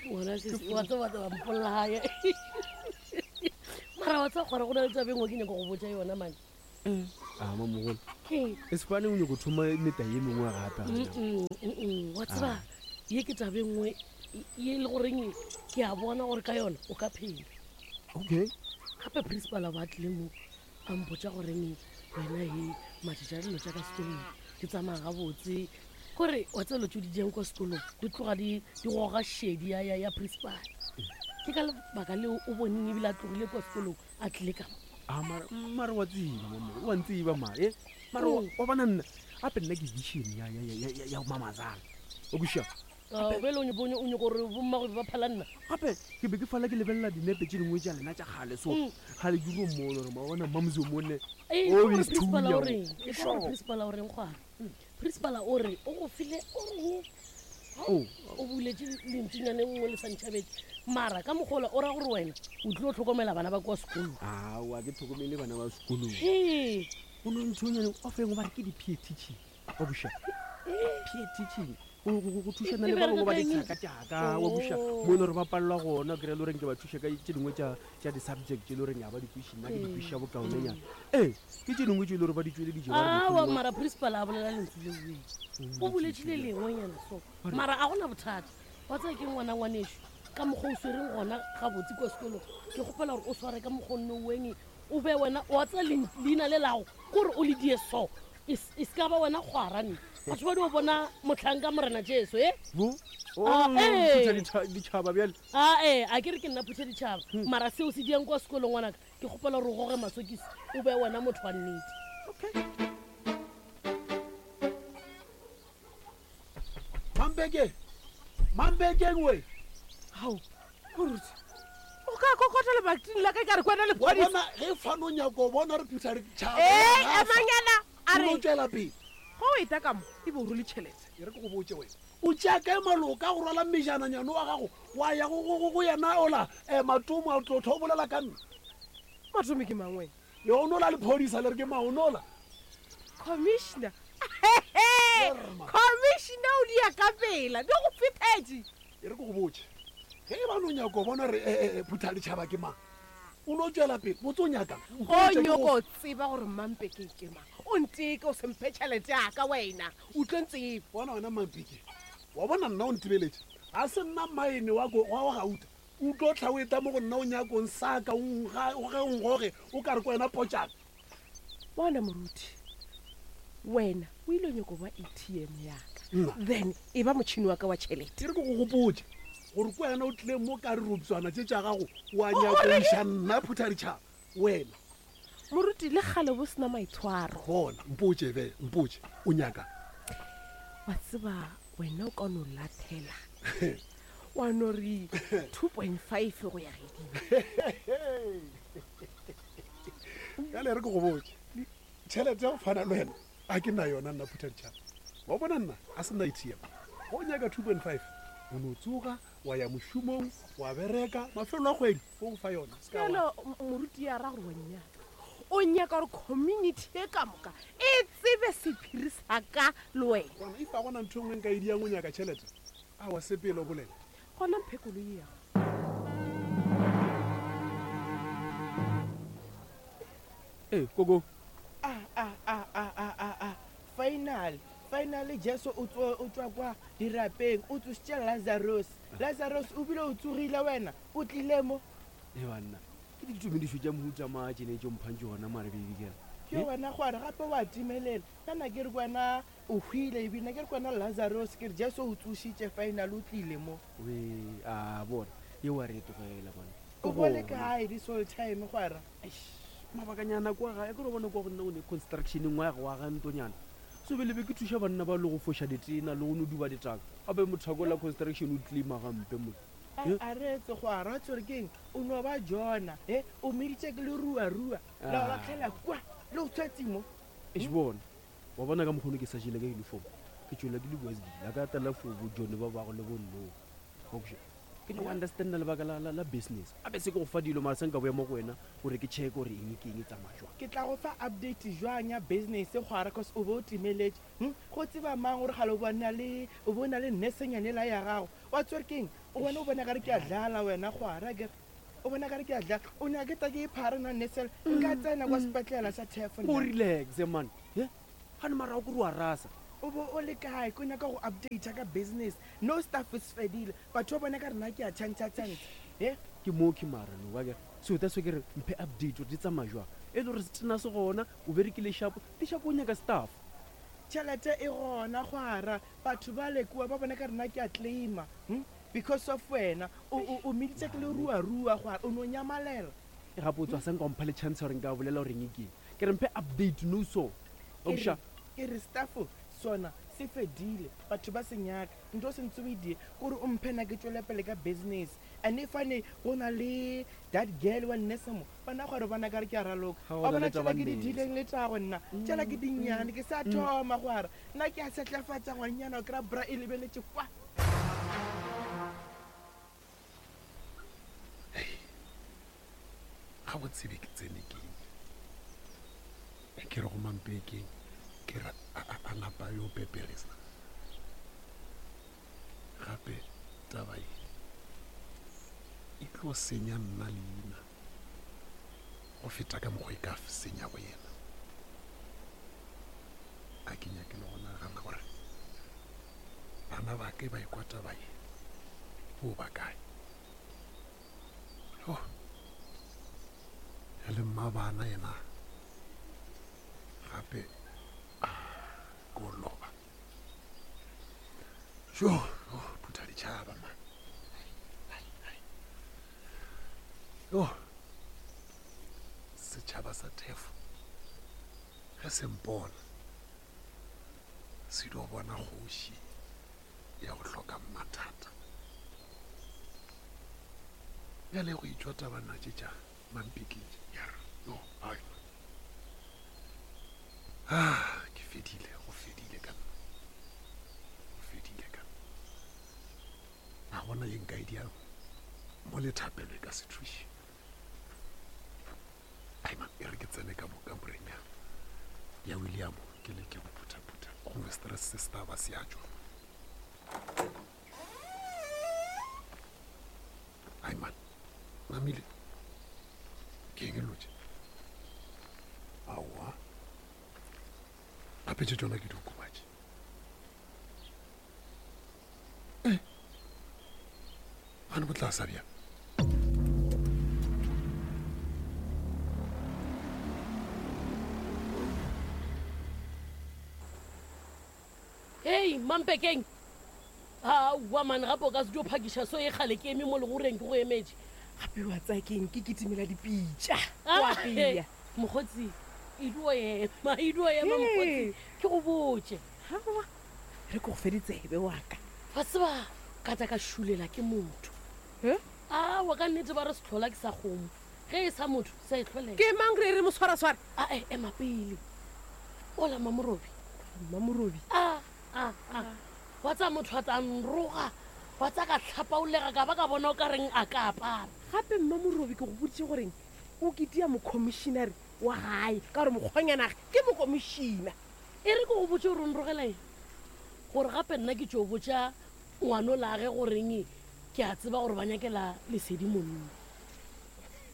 Ngwana sesi, wa tseba wa tseba mpolaya. Mara wa tseba gore go na le taba e nngwe ke nyaka go botša yona mane. A mamogolo. Ke E sefane o nyako thoma meta ye mengwe gape. gana. Mm, mm, mm. Wa tseba ye ke taba e nngwe ye e le goreng ke a bona gore ka yona o ka phela. Okay. Gape principal a ba tlile mo a mpotša goreng wena he matšatši a dilo tša ka sekolong di tsamaya gabotse kore wa tseba dilo tšeo di diang kwa sekolong di tloga di di goga šedi ya, ya, ya principal ke ka lebaka leo o boneng ebile a tlogile kwa sekolong a tlile ka mo A mara mara wa tseba mamogolo, wa ntseba mara. Eh? Mara wa Mm. wa bona nna gape nna ke vision ya ya ya ya ya mamazala. O kwešiša? Ah, bjale o nyako- o nyako gore bommago be ba phala nna gape ke be ke fala ke lebelela dinepe tše dingwe tša lena tša kgale so Mm. kgale ke ro mmone gore mabona mamzi o monne Ee, o gore is principal thunya o o. reng E ka gore Sure. principal o reng gwa principal o re o go file o reng Oh. o buletse lentsunyane nngwe le santšhabetse mara ka mogola o ra gore wena o tlile go tlhokomela bana ba kwa sekolong aowa ke tlhokomele bana ba sekolong Ee. o no nthonyane o feng o ba re ke di-peer teaching wa buša peer teaching go thušana le ba bangwe ba dithaka tšaka wa buša mo e le gore ba palelwa gona kry-e le goreng ke ba thuša ka tše dingwe tša di-subject tše e le goreng ga ba di kweši nna ke di kwešiša bokaonenyana ee ke tše dingwe tše e le gore ba di tšweleditše ba re awa mohlomongwe- mara principal a bolela lentswe leoe o boletše le lengwenyana so mara a gona bothata wa tsaya ke ngwana ngwaneso ka mokgwa o swereng gona gabotse kwa sekolong ke kgopela gore o sware ka mokgwa o nne weng o be wena wa tsaya leina le lago kore o le die so e e se ka ba wena kgwarane batho ba di o bona motlhanka morena jesu e Bo? Ah, Oh, ee. phutha ditšhaba bjale ae a ke re ke nna phutha ditšhaba mara seo se diang kwa sekolong ngwanaka ke kgopela gore o goge masokisi o be wena motho wa nnete okay mampeke mampekeng we gao moruti o ka kokota lebating la ka ka re kwena wa lepodisa bona ge fano o nyako o bona re phutha ditšhaba ee emanyana a o no re tswela pele go o eta ka mo e be o role tšhelete e re ke go botse wena o tšea kae maloka go rwala mejananyane wa gago wa ya go- go go- go yena ola um matomo a tlo tho o bolela ka nna matome ke mangwe yonola lephodisa le re ke maonola commissioner Lerma. commissioner o dia ka pela di go fethetše e re ke go botse ge e ba no nyako o bona re eh, eh, phutha ditšhaba ke mang o no tswela pele botse o nyakang o nyoko tseba gore mampeke ke mang o nteke o semphe tšhelete yaka wena o tlo ntseba bona wena mampeke wa bona nna o ntebeletše ga se nna maene wa ko- wa wa gauta o tlo tlha o eta mo go nna o nyakong saka o nga- o ge o ngoge o ka re ko wena potšana bona moruti wena o ile o nyako ba atm yaka Nna. then e ba motšhini wa ka wa tšhelete ke re ke go gopotse gore ko wena o tlileng mo ka re tše tša gago wa O- o nyako reng? iša nna phutha ditšhaba wena moruti le kgale bo sena maitshwaro bona mpotse be mpotse o nyaka wa tseba wena o ka no lathela wa no re 2.5 go ya gedimo jale re ke go botse tšhelete ya go fana le wena a ke na yona nna phutha ditšhaba wa bona nna a se nna atm go o nyaka 2.5 o no tsoga wa ya mošomong wa bereka mafelo a kgwedi o go fa yona Se ka wa- bjalo moruti ya ra gore wa nnyaka o nyaka gore community e ka moka e tsebe sephiri sa ka le wena Bona, if a gona ntho e nngwe nka e diang o nyaka tšhelete a wa sepele o bolela gona mphekolo e yago ee koko Ah, ah, ah, ah, ah, ah, ah. Final, finally Jesu o tswa o tswa kwa dirapeng, o tsositše Lazarus. Lazarus o bile o tsogile wena, o tlile mo. e banna ke ditumedišo tša mohuta maa tšene tšo mphang tšona mare baby girl Ke wena gore gape wa timelela. Nna ke re kwena o hwile ebile nna ke re kwena Lazarus ke re Jesu o tsositše final o tlile mo. we a bona ye wa re e tlogela bona O bone kae this whole time gwara? mabakanyana kwa gae ke re bona kwa go nna go ne construction nngwe ya go aga ntonyana so bele be ke thuša banna ba le go foša ditena le go no duba ditaka gape mothako la construction o tlima gampe mo A a re etse gwara wa tsore keng o no ba jona e o meditše ke leruarua la o Ah. latlhela kwa le o tshwetsi mo eš bona wa bona ka mokgono ke sa jele ka uniform ke tswela ke le wesgile a ka tala for bojone ba bago le bonno wakoša Ke nyaka go understanda lebaka la, la, la business. Gape se ke go fa dilo mara se nka boya mo go wena gore ke check gore eng ke eng e tsamaya jwang. Ke tla go fa update jwang ya business kgwara cause o be o timeletše. Hm? Go tseba mang gore kgale o be o na le, o be o na le nursenyane yela ya gago. Wa tswere keng? O bona o bona kare ke a dlala wena kgwara akere. O bona kare ke a dlala. O nyaka ke tla ke iphara nna nurse yela. Nka tsena kwa sepetlela sa Thefo nna. O relaxe man. He? Gane mara o kore wa rasa. O be o le kae? Ke nyaka go updata ka business. No stuff se fedile. Batho ba bona ka re nna ke a tšhantšha tšhantšha. He? Ke mooki mara no akere. So that's why ke re mphe update gore di tsamaya jwang. E le gore setena se gona, o berekile shapo, di shapo o nyaka staff. Tšhelete e gona kgwara. Batho bale kua ba bona ka re nna ke a claima. Hm? Because of wena. O, o, o mmiditše ke leruarua kgwara. O no nyamalela. E gape o tswa sa nka o mpha le chance ya gore nka bolela gore eng ke eng. Ke re mphe update no so. Ke re, ke re staff sona se fedile. Batho ba se nyaka. Ntho o sentse o e die kore o mphe nna ke tšwele pele ka business. And if ane go na le that girl wa nurse mo, bana gore bona kare ke a raloka. Ga go Wa na bona le tša tšela ke di ba-nurse. dileng le tšago nna. Tšela ke dinnyane ke sa thoma go ara. Nna ke a setlafatša ngwannyana o kry-a bra e lebeletše kwa. Gabotse be ke tsene keng? Ke re go Mampekeng ke re a napa yo peperesa. Gape taba ye e tlo senya nna leina go feta ka mokgwa e ka senya go yena. A ke nyake le go nagana gore bana ba ke ba ekwa taba ye bo ba kae. Oh. Ya le mmabana yena gape ko loba. Jo, oh, phutha ditšhaba man. Yo. Setšhaba sa Thefo ge se mpona se dio bona kgoši ya go hloka mathata. Bjale go itšwa tabana tše tša mampiketše. Yo, ai. Ah, ke fedile, go fedile ka nna. Go fedile ka nna. A gona ye nka e diang mo le thapelo e ka se thuše. Ai man, e re ke tsene ka mo kamoreng ya ya William ke leke go phuthaphutha gongwe stress se se tla ba se a tšwa. Ai man, namile ke eng e lotše? Aowa, gape tše tšona ke diokobatši. Eh, gane bo tla sa bjang? Hei, Mampekeng! Aowa man, gape o ka se tlo phakiša so e kgale ke eme mo legoreng ke go emetše. Gape wa tsaya keng ke kitimela dipitša Ah, o apea. Mokgotsi, e dio ema, e dio ema mokgotsi, ke go botše. Aowa, re ke go fe ditsebe wa ka. Wa tseba, ka tla ka šulela ke motho. He? Aowa, ka nnete ba re sehlola ke sa kgomo. Ge e sa motho, se a e hlolela. Ke mang re re moswaraswara? Ae, ema pele. Ola Mamorobi. Mamorobi? A, a, a. Wa tsaya motho a tla nroga, wa tsaya ka hlapaolega ka ba ka bona o ka reng a ka apara. Gape Mmamorobi ke go boditše goreng o kitia mokomišinare wa gae ka gore mokgwanyanage ke mokomišina. E re ke go botše gore o nrogela eng, gore gape nna ke tšo botša ngwanolage goreng ke a tseba gore ba nyakela Lesedi monna.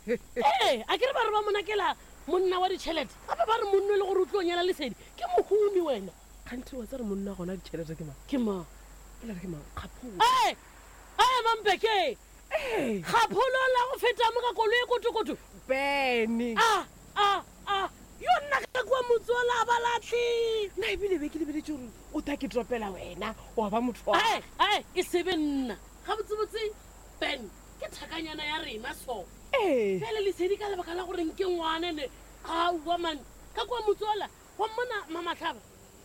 Ee, a ke re ba re ba mo nakela monna wa ditšhelete, gape ba re monno e le gore o tlo nyala Lesedi ke mohumi wena. Kganthe wa tseba gore monna gona ditšhelete ke mang? Ke mang? O la re ke mang? Kgapholo. Ee, ee, Mampeke! Ee. Kgapholo la go feta mo ka koloi e kotokoto. Bene. A, a, a, yo nna ka kua motse ola a ba lahle. Nna ebile be ke lebeletše gore o tla ke topela wena wa ba motho wa. Ae, ae, e se be nna. Gabotsebotse, Ben, ke thakanyana ya rena so. Ee. Bjale Lesedi ka lebaka la gore nke ngwane ne, aowa man, ka kua motse ola, wa mmona Mamahlaba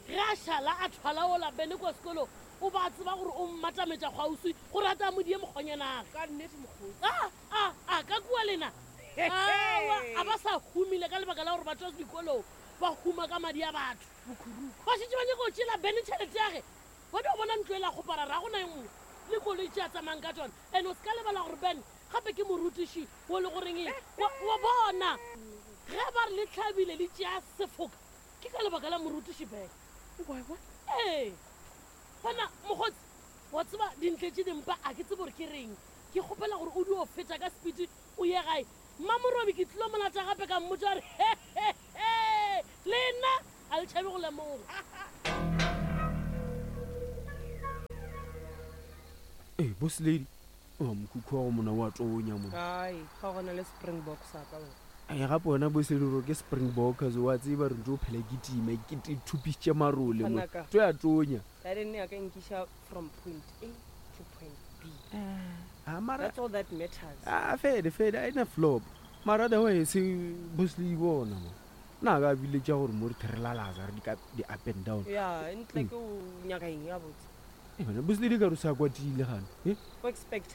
ge a šala a thwala ola Bene kua sekolong, o ba a tseba gore o mmatametša kgauswi gore a tla mo die mokgonyanage. Ka nnete mokgotsi. A, a, a, ka kua lena. Aowa, a ba sa humile ka lebaka la gore ba tšwa dikolong, ba huma ka madi a batho. Bokhuruku. Ba šetše ba nyaka go tšeela Bene tšhelete ya ge. Ba dio bona ntlo e la kgopara, ra go na e nngwe. Le kotsi. dikoloi tše a tsamayang ka tšona. And o se ka lebala gore Ben gape ke morutiši wo le goreng wa, wa bona. Ge ba re le hlabile le tšea sefoka, ke ka lebaka la morutiši Ben. Wa bona? Ee. Gona, mokgotsi, wa tseba dintle tše dimpa a ke tsebe gore ke reng. Ke kgopela gore o dio feta ka sepiti o ye gae. Mmamorobi ke tlilo mo lata gape ka mmotša gore he, he, he, lena a le tšhabe go lemoga. Ee, boss lady, oh, mokhukhu wa go mona wa tonya mona. Ai, ga gona le Springbok sa ka wena. Ai, gape wena boss lady gore ke Springbok, wa tseba re ntse o phela ke tima, ke te thupišitše marole mo. Ngwanaka. To ya tonya. Garden ya ka e nkiša from point A to point B. Ah, mara That's all that matters. Ah, fede fede a ena flop. Mara otherwise boss lady bona mo. Na ka biletša gore mo re therelalaza re di ka di up and down. Ya, ntle ke o nyaka eng ya botse. Eh, bana boss lady ka re o sa kwatile gane. Eh? O expect.